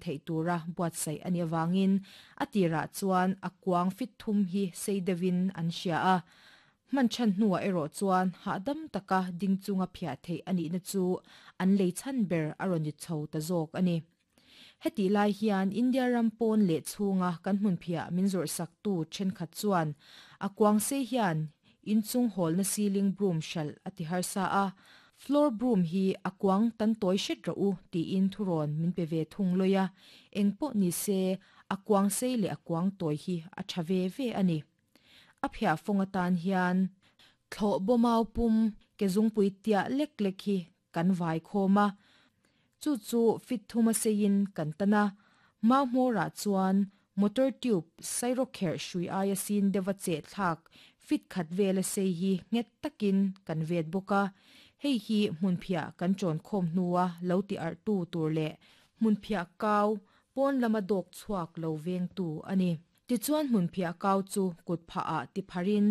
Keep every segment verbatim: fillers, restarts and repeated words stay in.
theih tura buatsaih a nih avangin a tirah chuan a kuang fit thum hi sei deuhin an hria a. Hman ṭhan hnuah erawh chuan hahdam taka ding chunga phiah theih a nihna chu an lei chhan ber a rawn ni chho ta zawk a ni. Hetih lai hian India ram pawn leh chhunga kan hmunphiah min zawrhsaktu ṭhenkhat chuan a kuang sei hian inchung hawlna ceiling broom hralh a ti harsa a, floor broom hi a kuang tan tawi hret rawh u tiin thurawn min pe ve thung lawi a, eng pawh ni se a kuang sei leh a kuang tawi hi a ṭha ve ve a ni. A phiah fawng atan hian thlawh bawmau pum ke zungpui tiah lek lek hi kan vai khawm a, chu chu fit thuma seiin kan tan a, mau hmawrah chuan motor tube sairawkherh hrui aia sin deuha cheh thlak fit khat vela sei hi nghet takin kan vet bawk a, hei hi hmunphiah kan ṭawn khawm hnua lo ti arhtu tur leh hmunphiah kau pawn lama dawk chhuak lo vengtu a ni. Tichuan hmunphiah kau chu kut phahah ti pharin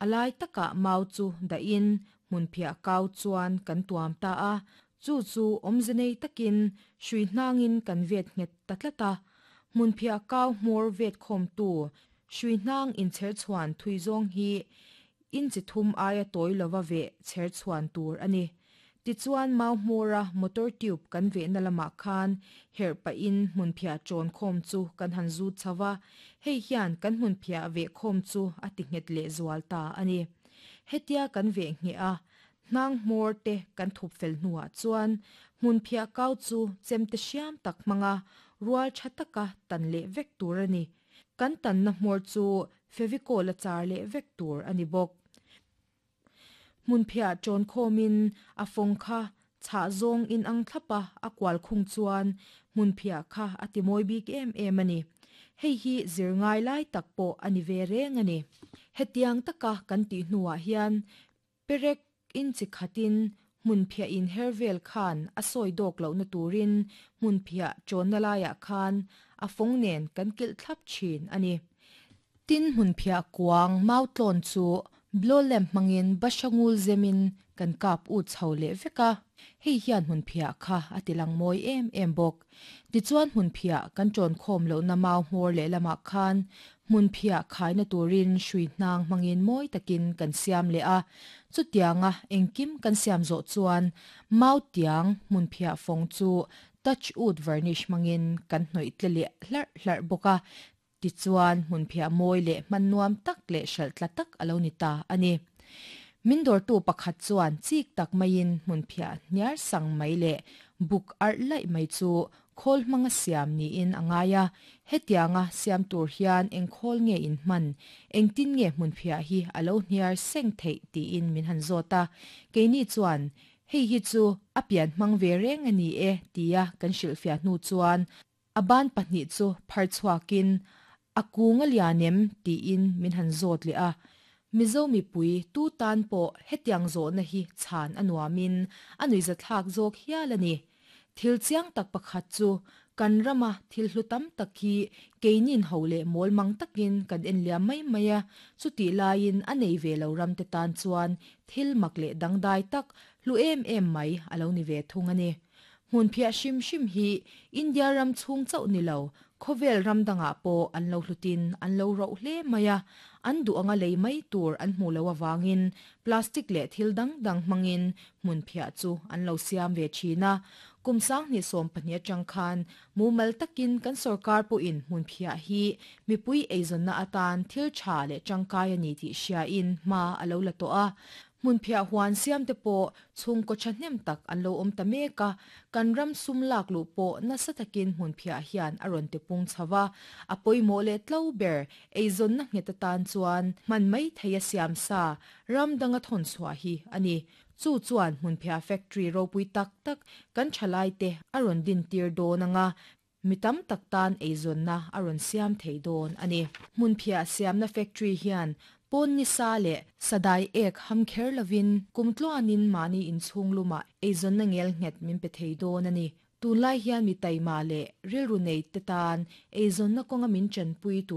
a lai takah mau chu dahin hmunphiah kau chuan kan tuam ta a, chu chu awmze nei takin hrui hnangin kan vet nghet ta tlat a, hmunphiah kau hmawr vet khawmtu hrui hnang inchher chhuan thui zawng hi inchi thum aia tawi lova veh chher chhuan tur a ni. Tichuan mau hmawra motor tube kan vehna lamah khan herh pahin hmunphiah ṭawn khawm chu kan han zut chho a, hei hian kan hmunphiah veh khawm chu a ti nghet leh zual ta a ni. Hetia kan veh ngheh a, hnang hmawr te kan thup fel hnuah chuan hmunphiah kau chu chemte hriam tak hmanga rual ṭha taka tan leh vek tur a ni. Kan tanna hmawr chu Fevicol a char leh vek tur a ni bawk. Hmunphiah ṭawn khawmin a fawng kha chhah zawng in ang thlapa a kual khung chuan hmunphiah kha a ti mawi bik em em a ni. Hei hi zir ngai lai tak pawh a ni ve reng a ni. Hetiang taka kan tih hnuah hian perek inchi khatin hmunphiah in her vel khan a sawi dawk lohna turin hmunphiah ṭawnna laiah khan a fawng nen kan kilh thlap ṭhin a ni. Tin hmunphiah kuang mau tlawn chu blow lamp hmangin bahra ngul zemin kan kap ut chho leh vek a, hei hian hmunphiah kha a ti lang mawi em em bawk. Tichuan hmunphiah kan ṭawn khawm lohna mau hmawr leh lamah khan hmunphiah khaina turin hrui hnang hmangin mawi takin kan siam leh a, chutianga engkim kan siam zawh chuan mau tiang hmunphiah fawng chu touch wood varnish hmangin kan hnawih tle leh hlarh hlarh bawk a, tichuan hmunphiah mawi leh hman nuam tak leh hralh tla tak a lo ni ta a ni. Min dawrtu pakhat chuan chik tak maiin hmunphiah hniar sang mai leh buk arh laih mai chu khawl hmanga siam niin a ngai a, hetianga siam tur hian eng khawl nge in hman, engtin nge hmunphiah hi a lo hniar seng theih tiin min han zawt a, keini chuan hei hi chu a pian hmang ve reng a ni e tia kan hrilhfiah hnu chuan a ban pahnih chu phar chhuakin a kung a lian em tiin min han zawt leh a, Mizo mipui tu tan pawh hetiang zawhna hi chhan a nuamin a nuihzathlak zawk hial a ni. Thil chiang tak pakhat chu kan rama thil hlu tam tak hi keinin ho leh mawl mang takin kan en liam mai mai a, chutih laiin a nei ve lo ram te tan chuan thil mak leh dangdai tak hlu em em mai a lo ni ve thung a ni. Hmunphiah hrim hrim hi India ram chhung chauh ni lo, khawvel ram dangah pawh an lo hlutin an lo roh hle mai a, an duh anga lei mai tur an hmuh loh avangin plastic leh thil dang dang hmangin hmunphiah chu an lo siam ve thin a. Kum sanghnih sawm pahnih atang khan mumal takin kan sorkar pawhin hmunphiah hi mipui eizawnna atan thil tha leh tangkai a ni tih hriain hma a lo la tawh a. Hmunphiah huan siam te pawh chhungkaw thahnem tak an lo awm ta mek a, kan ram sum lak luh pawh nasa takin hmunphiah hian a rawn tipung chho a, a pawimawh leh tlo ber eizawnna nghet atan chuan hman mai thei a siam sa ram danga thawn chhuah hi a ni. Chu chuan hmunphiah factory ropui tak tak kan thalai te a rawn din tir dawn anga, mi tam tak tan eizawnna a rawn siam thei dawn a ni. Hmunphiah siamna factory hian pawn ni sa leh sadai ek ham kher lovin kum tluanin mahni inchhung lumah eizawnna ngel nghet min pe thei dawn a ni. Tunlai hian mi taima leh rilru nei te tan eizawnna kawnga min chanpui tur